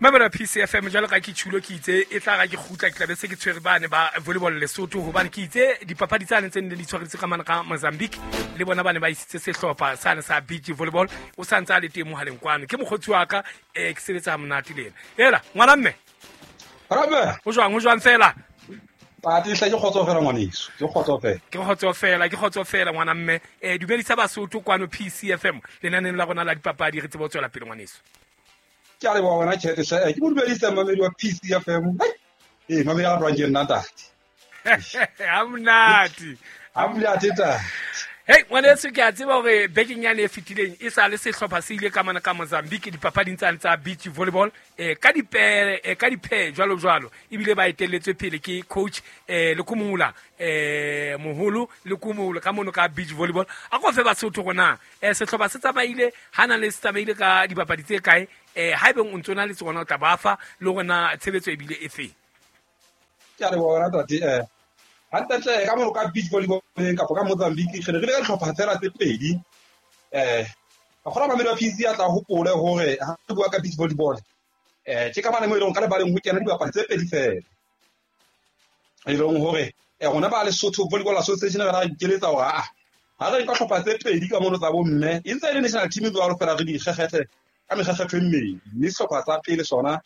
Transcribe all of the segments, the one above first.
Mamela PCFM jwalo ka ke tjhulo ke itse e tla ra ke kgutla ke tla be se ke tshwere bane ba volleyball Lesotho hobane ke itse dipapadi tsane tse nne di tshwareditse ka mane ka Mozambique le bona bane ba isitse sehlopha sane sa beach volleyball o sa ntse a le teng mohaleng kwano ke mokgotsi wa ka ke sebetsa ha monate le ena ela ngwana mme Rabe. Ho jwang ho jwang fela Pati hle ke kgotso fela ngwaneso ke kgotso fela ke kgotso fela ke kgotso fela ngwana mme dumedisa Basotho kwano PCFM lenaneng la rona la dipapadi re tsebe ho tswela pele ngwaneso. Ke a leboha wena Chat hle ke mo dumedisa mamedi wa PCFM. Ee mamedi a ratwang ke nna ntate. Ha monate. Ha monate ntate. Hey ngwaneso ke a tseba hore bekeng yane e fetileng e sa le sehlopha se ile ka mane ka Mozambique dipapading tsane tsa beach volleyball ka dipere ka diphe jwalo jwalo ebile ba etelletswe pele ke coach Lekumula moholo Lekumula ka mono ka beach volleyball. A ko fe Basotho rona sehlopha se tsamaile hana le se tsamaile ka dibapadi tse kae haebeng o ntso na le tsona o tla ba fa le hore na tshebetso ebile e feng. Ke a leboha wena ntate. Hantlentle ka mono ka beach volleyball kapa ka Mozambique re ne re le ka dihlopha fela tse pedi. Ka kgona mamedi wa PC a tla hopole hore ha re bua ka beach volleyball ke ka mane mo e leng ka lebaleng ho kena dibapadi tse pedi fela. E leng hore rona ba Lesotho Volleyball Association re ra ikeletsa hore a ha re nka hlopha tse pedi ka mono tsa bomme e ntse e le national team jwalo fela re di kgekgethe ka mekgekgetho e mmedi. Mme sehlopha sa pele sona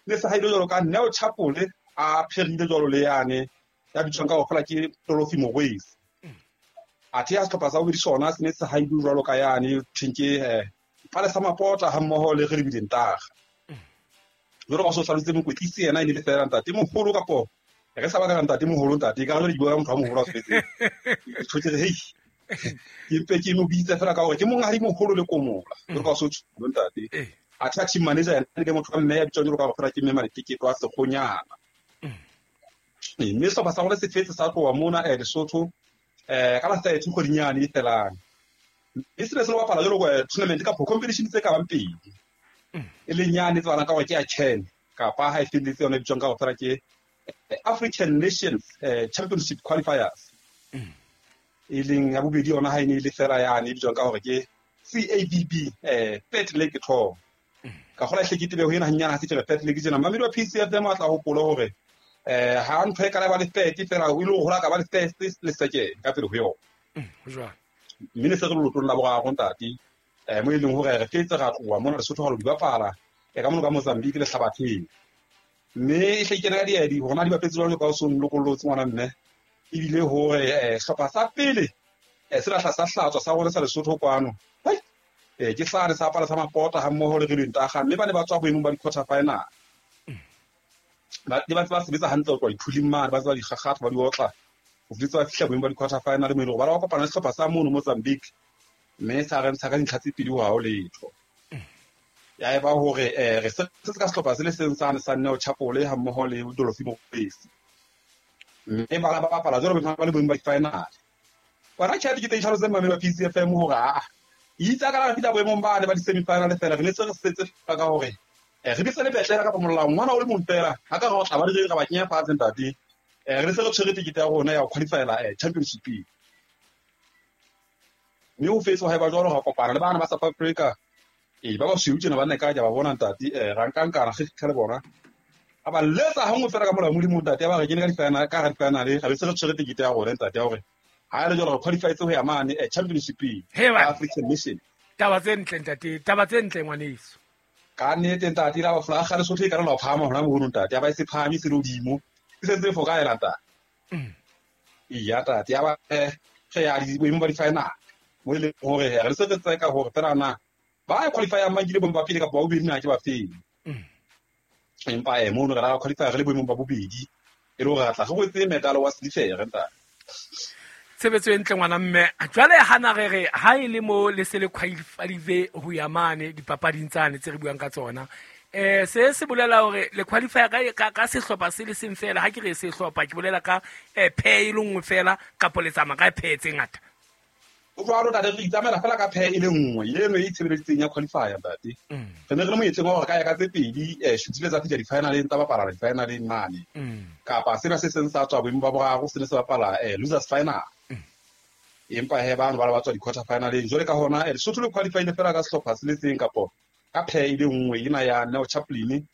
ne se haile jwalo ka Neo Chapole a pherile jwalo le yane ya bitswang ka hore fela ke Tolofi Morwesi. Athe ya sehlopha sa bobedi sona se ne se haile jwalo ka yane thweng ke Palesa Mapota ha mmoho le re lebile Ntaga. Jwalo ka so hlalositse mokwetlisi yena e ne le fela ntate moholo kapo re sa batla ntate moholo ntate ka jwale di bua ka motho a moholo a tsofetseng. Ke tjho ke re hei ke mpe ke mo bitse fela ka hore ke monghadi moholo le komola. Jwalo ka so tjho ntate. Athe a team manager yena ke motho wa mme ya bitswang jwalo ka hore fela ke mme Maleteketo a Sekgonyana. Mme sehlopha sa rona se fetse sa tloha mona Lesotho ka la 30 kgweding yane e felang. Mme se ne se lo bapala jwalo ka tournament kapa competition tse ka bang pedi. E leng yane tsebahalang ka hore ke ya CHAN kapa ha e felletse yona e bitswang ka hore fela ke African Nations Championship Qualifiers. E leng ya bobedi yona ha e ne e le fela yane e bitswang ka hore ke CAVB Third Leg Tour. Ka kgola hle ke tebe ho ena hanyane ha se ke re third leg tjena. Mamedi wa PCFM a tla hopola hore ha ntho e kana ba le third fela o ile ho hola ka ba le first le second ka pele ho yona. Ho jwalo. Mme ne se re lotong la boraro ntate. Mo e leng hore re fetse ra tloha mona Lesotho ha lo di bapala ka mono ka Mozambique le Hlabatheng. Mme e hle kena ka diedi hore na di bapetse jwalo ka o so nlokollotse ngwana mme. Ebile hore sehlopha sa pele se lahla sa hlatswa sa rona sa Lesotho kwano. Ke sane sa Palesa Mapota ha mmoho le re Ntaga mme ba ne ba tswa boemong ba di-quarter final. Ba ne ba ntse ba sebetsa hantle ho tloha diphuleng mane, ba tseba dikgakgatha ba di otla. Ho fihletse ba fihla boemong ba di-quarter final mo e leng hore ba la kopana le sehlopha sa mono Mozambique mme sa re ntsha ka dintlha tse pedi ho ha ho letho. Ya eba hore re se ka sehlopha se le seng sane sa Neo Chapole ha mmoho le Dolofi Morwesi. Mme ba ba bapala jwalo ba le boemong ba di-final. Wena Chat ke teng tlhaloseng mamedi wa PCFM hore a itse ka la fihla boemong ba ne ba di-semi-final fela re ne se re setse fela ka hore re bitse le betlela kapa molao ngwana o le mong fela ha ka re o tla ba re ba kenya fatshe ntate. Re ne se re tshwere tekete ya rona ya ho qualifyela championship. Mme ho fetse ha eba jwalo ra kopana le bana ba South Africa. Ba basweu tjena ba nne ka ba bona ntate ra nkankana re fitlha le bona. A ba letsa ha nngwe fela ka molao Modimo ntate ya ba re kene ka di-final ka di-final ra be se re tshwere tekete ya rona ntate ya hore ha le jwalo re qualifyetse ho ya mane championship African Nation. Taba tse ntle ntate, taba tse ntle ngwaneso. Ka nnete ntate la flaga le Lesotho e ka la phahama hona mono ntate ya ba e se phahame se le hodimo. E sentse e fokaela ntate. Iya ntate ya ba re ya di boemong ba di-final. Mo e leng hore re se re tseka hore fela na ba qualify mang ke le boemong ba pele kapa ba bobedi na ke ba feng. Empa mono re ra qualify re le boemong ba bobedi e le hore re tla re rwetse medal wa silver ntate. Tshebetso e ntle ngwana mme. Jwale hana re re ha e le mo le se le qualify ho ya mane dipapading tsane tse re buang ka tsona. Se se bolela hore le qualify ka sehlopha se le seng fela ha ke re sehlopha ke bolela ka phe e le nngwe fela kapa le tsamaya ka phe tse ngata. O jwalo ntate re itsamaela fela ka phe e le nngwe eno e itshebeleditseng ya qualifier ntate. Re ne re le moyetleng wa hore ka ya ka tse pedi shutile tsa fihla di-finaleng tsa bapala di-finaleng mane. Kapa sena se seng sa tswa boemong ba boraro se ne se bapala losers final. Empa he bano ba tswa di-quarter finaleng. Jwale ka hona Lesotho le qualifyile fela ka sehlopha se le seng kapo ka phe e le nngwe ena ya Neo Chaplin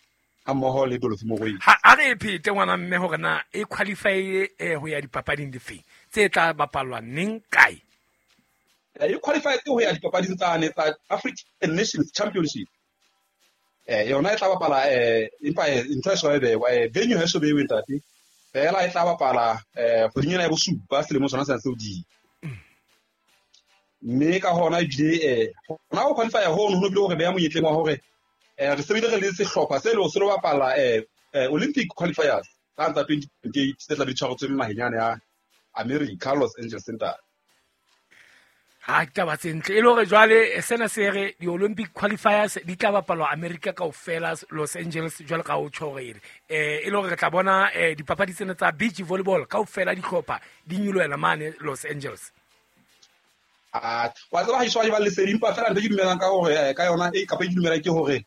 Ha mmoho le Dorothy Mokoena. Ha a re e phete ngwana mme hore na e qualify ho ya dipapading difeng tse tla bapalwa neng kae? E qualify ho ya dipapading tsane tsa African Nations Championship. Yona e tla bapala empa ntho e so e bewa venue ha e so bewe ntate. Fela e tla bapala kgweding ena ya bosupa selemo sona sena seo di. Mme ka hona ebile hona ho qualify hono ho bile hore beya monyetleng wa hore re sebile re le sehlopha se le se lo bapala Olympic qualifiers ka tsa 2028 se tla be tshwaretswe naheng yane ya America, Los Angeles ntate. Ha ke taba tse ntle e le hore jwale sena se re di-Olympic qualifiers di tla bapalwa America kaofela Los Angeles jwale ka o tjho hore e le hore re tla bona dipapadi tsena tsa beach volleyball kaofela dihlopha di nyolohela mane Los Angeles. Wa tseba ha iswa ba lesedi empa fela ntho ke dumelang ka hore ka yona e kapa ke dumelang ke hore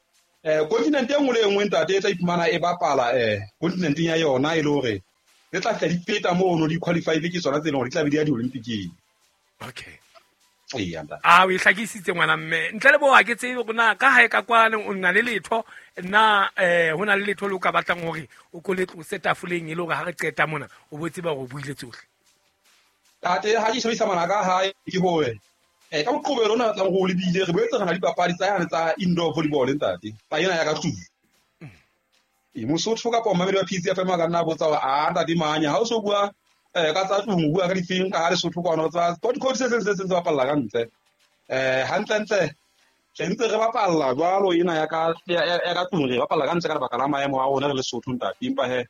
continent e nngwe le e nngwe ntate e tla iphumana e bapala continenteng ya yona e le hore le tla fihla di feta mono di qualify ke tsona tse leng hore di tla be di ya di-Olympiceng. Okay. Eya ntate. A o e hlakisitse ngwana mme ntle le bo ha ke tsebe hore na ka hae ka kwane o na le letho na ho na le letho le o ka batlang hore o ko le tlose tafoleng e le hore ha re qeta mona o bo tseba hore o buile tsohle. Tate ha ke shebisa ngwana ka hae ke hore ka Moqebelo ona tlang ho lebile re boetse re na le dipapadi tsa yane tsa indoor volleyball ntate tsa ena ya ka tlung. Mosotho kapa mamedi wa PCFM a ka nna botsa hore a ntate manya ha o so bua ka tsa tlung o bua ka difeng ka ha Lesotho kwana tsa sport code se seng se seng se bapalla ka ntle. Hantle-ntle re ntse re bapalla jwalo ena ya ka ya ka tlung re bapalla ka ntle ka lebaka la maemo a rona re Lesotho ntate empa he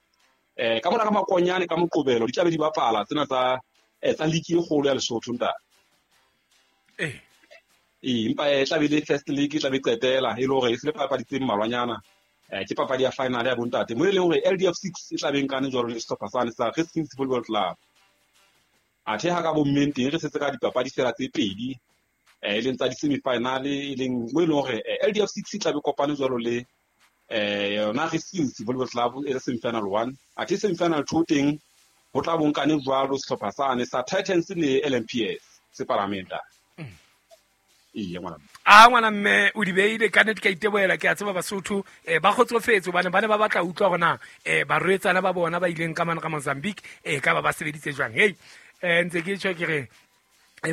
ka mona ka Makonyane ka Moqebelo di tla be di bapala tsena tsa tsa league e kgolo ya Lesotho ntate. Empa e tla be le first league e tla be qetela e le hore e se le papadi tse mmalwanyana. Ke papadi ya final ya bontate mo e leng hore LDF 6 e tla be nkane jwalo le sehlopha sane sa Racing Volleyball Club. Athe ha ka bommeng teng re setse ka dipapadi fela tse pedi e leng tsa di-semi-final e leng mo e leng hore LDF 6 e tla be kopane jwalo le yona Racing Volleyball Club e le semi-final 1. Athe semi-final 2 teng ho tla bonkane jwalo sehlopha sane sa Titans le LMPS se palamenta. Ee ngwana. A ngwana mme o di beile ka nnete ka itebohela ke a tseba Basotho ba kgotsofetse hobane ba ne ba batla utlwa hore na barwetsana ba bona ba ileng ka mane ka Mozambique ka ba ba sebeditse jwang. Hey ntse ke tjho ke re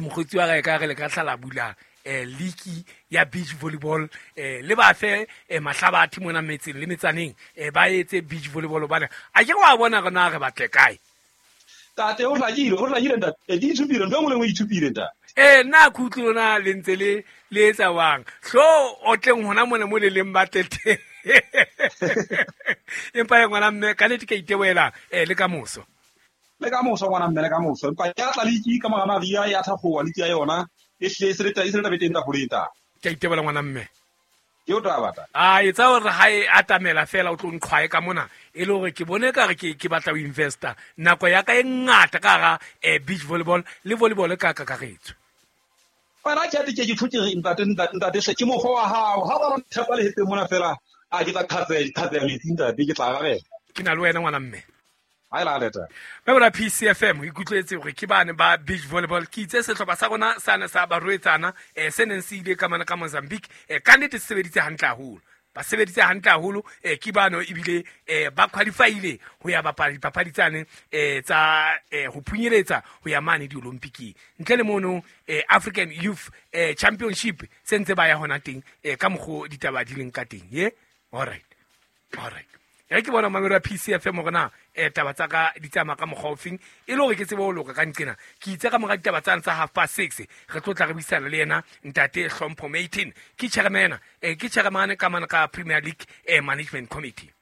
mokgotsi wa ka re le ka hlala bula league ya beach volleyball le ba fe mahlabathe mona metseng le metsaneng ba etse beach volleyball hobane a ke wa bona rona re batle kae. Tate o hlakile ntate di ithupile ntho e nngwe le nngwe e ithupile ntate. Nna ke utlwe lona le ntse le etsa wang hlo o tleng hona mona mo le leng batle teng. Empa e ngwana mme ka nnete ka itebohela le ka moso. Le ka moso ngwana mme le ka moso empa ya tla league ka mora Maria ya thakgowa league ya yona e hle e se le taba teng tafoleng ta. Ke a itebohela ngwana mme. Ke o taba ta. A etsa hore ha e atamela fela o tlo nqhwae ka mona e le hore ke bone ka re ke batla ho investa nako ya ka e ngata ka hara beach volleyball le volleyball ka kakaretso. Wena ke ate ke ke tjho ke re ntate ntate hle ke mokgwa wa hao ha ba nthepa le hetse mona fela a ke tla qhatseya metsi ntate ke tla arabela. Ke na le wena ngwana mme. Ha e la leta. Mme bona PCFM ikutlwetse hore ke bane ba beach volleyball ke itse sehlopha sa rona sa ne sa barwetsana se neng se ile ka mane ka Mozambique ka nnete se sebeditse hantle haholo. Ba sebeditse hantle haholo ke bano ebile ba qualifyile ho ya bapala dipapadi tsane tsa ho phunyeletsa ho ya mane di-Olympiceng. Ntle le mono African Youth Championship se ntse ba ya hona teng ka mokgo ditaba di leng ka teng. Ye? All right. All right. E ke bona mamelo ya PCFM hore na taba tsa ka di tsamaya ka mokgwa ofeng e le hore ke tsebe ho loka ka nqena. Ke itse ka mora ditaba tsane tsa 6:30 re tlo tla re buisana le yena ntate Hlompho Maitin ke chairman ke chairman ka mane ka Premier League Management Committee.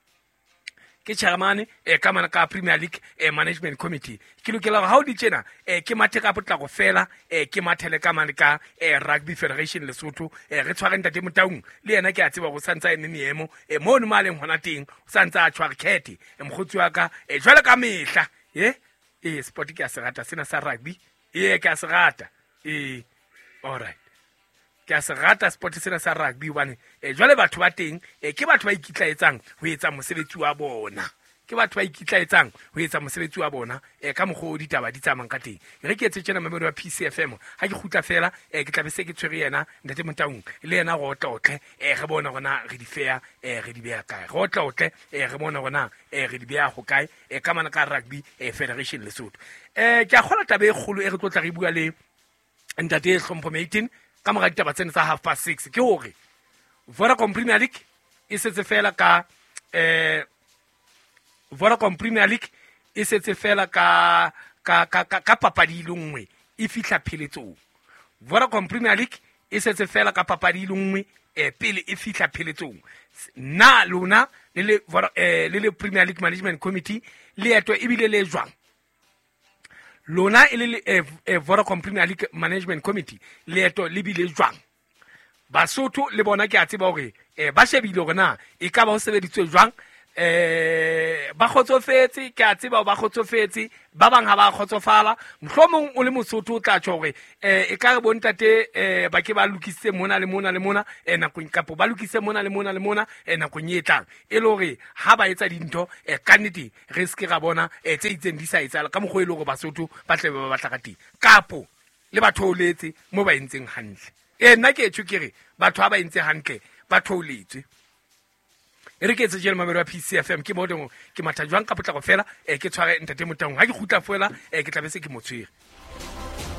Ke chairman ka mane ka Premier League Management Committee. Ke lokela hore ha o di tjena ke mathe ka potlako fela ke mathele ka mane ka Rugby Federation Lesotho re tshware ntate Motaung le yena ke a tseba hore o santse a eme meemo mono mo a leng hona teng o santse a tshware khethe mokgotsi wa ka jwalo ka mehla sport ke a se rata sena sa rugby ke a se rata all right ke a se rata sport sena sa rugby hobane jwale batho ba teng ke batho ba ikitlaetsang ho etsa mosebetsi wa bona. Ke batho ba ikitlaetsang ho etsa mosebetsi wa bona ka mokgwa o ditaba di tsamayang ka teng. Re ke etse tjena mamedi wa PCFM, ha ke kgutla fela ke tla be se ke tshwere yena ntate Motaung le yena re otlotle, re bone hore na re di feya, re di beha kae. Re otlotle, re bone hore na re di beha hokae, ka mane ka Rugby Federation Lesotho. Ke a kgola taba e kgolo e re tlo tla re bua le ntate Hlompho Maitin ka mora ditaba tsena tsa 6:30, ke hore Vodacom Premier League e setse fela ka Vodacom Premier League e setse fela ka ka ka ka papadi e le nngwe e fihla pheletsong. Vodacom Premier League e setse fela ka papadi e le nngwe pele e fihla pheletsong. Na lona le le Premier League Management Committee leeto ebile le jwang? Lona e le Vodacom Premier League Management Committee leeto le bile jwang? Basotho le bona ke a tseba hore ba shebile hore na e ka ba ho sebeditswe jwang, ba kgotsofetse, ke a tseba ba kgotsofetse, ba bang ha ba kgotsofala. Mohlomong o le Mosotho o tla tjho hore e ka re bontate ba ke ba lokisitse mona le mona le mona nakong, kapo ba lokisitse mona le mona le mona nakong e tlang, e le hore ha ba etsa dintho ka nnete re se ke ra bona tse itseng di sa etsahala ka mokgwa e le hore Basotho ba tle ba batla ka teng, kapo le ba theoletse mo ba entseng hantle. Nna ke tjho ke re batho ha ba entse hantle ba theoletswe. E re ke etse jele mamelo wa PCFM, ke bone ke matha jwang ka potlako fela, ke tshware ntate Motaung. Ha ke kgutla fela, ke tla be se ke mo tshwere.